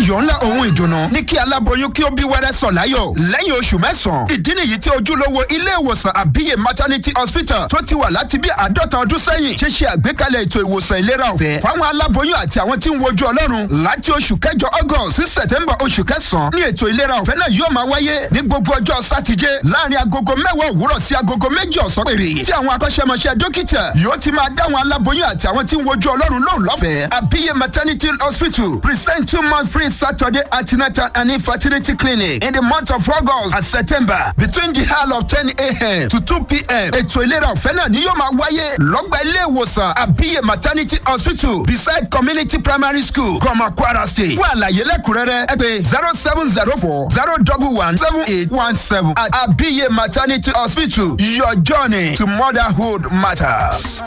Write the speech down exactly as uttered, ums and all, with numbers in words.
Ayọ̀ ńlá ohun ìdùnnú ní kí aláboyún kí ó bí wẹ́rẹ́ sọ̀ láyọ̀ lẹ́yìn oṣù mẹ́sàn-án. Ìdí nìyí tí ojúlówó ilé ìwòsàn Àbíyè Maternity Hospital tó ti wà láti bí àádọ́ta ọdún sẹ́yìn ṣe ṣe àgbékalẹ̀ ètò ìwòsàn ìlera ọ̀fẹ́ fáwọn aláboyún àti àwọn tí ń wojú Ọlọ́run. Láti oṣù kẹjọ, August, sí September, oṣù kẹsàn-án, ní ètò ìlera ọ̀fẹ́ náà yóò máa wáyé ní gbogbo ọjọ́ Sátidé láàrin agogo mẹ́wàá òwúrọ̀ sí agogo méjì ọ̀sán péré, tí àwọn akọ́ṣẹ́mọṣẹ́ dókítà yóò ti máa dáwọn aláboyún àti àwọn tí ń wojú Ọlọ́run lóhùn lọ́fẹ̀ẹ́. Àbíyè Maternity Hospital present two month free Saturday antenatal and infertility clinic in the month of August and September between the hour of ten a m to two p m. Ètò ìlera ọ̀fẹ́ náà ni yóò máa wáyé lọ́gbà ilé ìwòsàn Àbíyè Maternity Hospital, beside Community Primary School, Gọmọ, Kwara State. Fún àlàyé lẹ́kùnrẹ́rẹ́, ẹ pè zero seven zero four zero double one seven eight one seven. At Àbíyè Maternity Hospital, your journey to motherhood matters.